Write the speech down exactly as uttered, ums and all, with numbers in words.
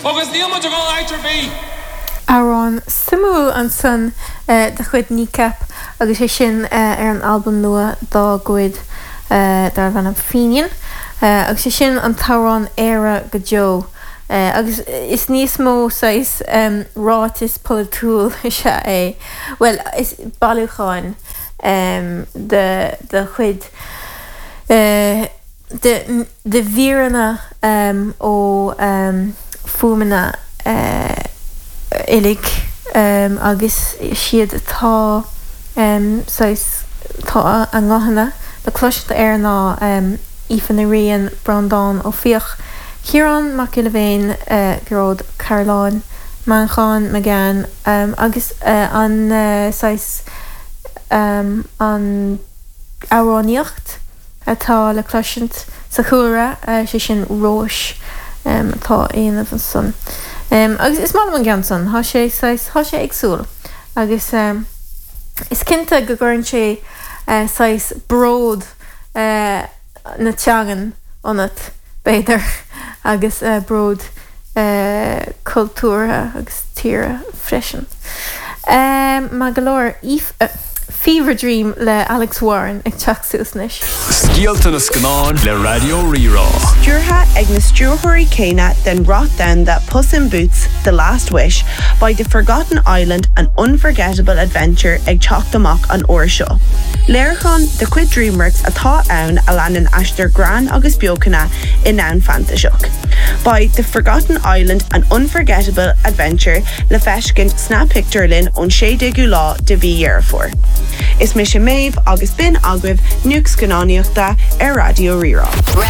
Agus níl muid ag dul áit ar bith. Amhrán suimiúil ansan eh, de chuid Kneecap agus é sin eh, ar an albam nua dá gcuid eh, darb ainm Fenian agus é sin an t-amhrán Éire go deo. agus is níos mó saghas um, ráiteas polaitiúil is ea é. Well is bailiúchán um, de de chuid uh, de, de mhíreanna um, ó um, fuaimeanna uh, uilig um, agus siad atá um, tá a nguthanna le cloisteáil air ná um, Aoife Ní Riain Breandán Ó Fiaich. Ciarán Mac Giolla Bhéin uh, Gearóid Carolan, Manchán Magan um, agus uh, an uh, saghas um, an amhránaíocht atá le cloisint sa chúlra uh, sé sin Róis um, atá á dhéanamh ansan. Um, agus is maith an ceann san tá sé tá sé éagsúil agus um, is cinnte go gcuireann sé uh, saghas bród uh, na teangan ionat b'fhéidir agus uh, bród uh, cultúrtha agus tíre freisin. Um, má go leor uh, Fever Dream le Alex Warren ag teacht suas anois. Scéalta na scannán le Raidió Rí-Rá. Stiúrtha ag na stiúrthóirí céanna den rath domhanda Puss in Boots, The Last Wish, beidh The Forgotten Island an unforgettable adventure ag teacht amach an uair seo. Léiriúchán de chuid DreamWorks atá ann a leanann aistear greann agus beochana i ndomhan fantaiseach. Beidh The Forgotten Island an unforgettable adventure le feiscint sna pictiúrlanna ón sé déagú lá de mhí Dheireadh Fómhair. Is mise Méabh agus b'in agaibh nuacht scannánaíochta ar Raidió Rí-Rá.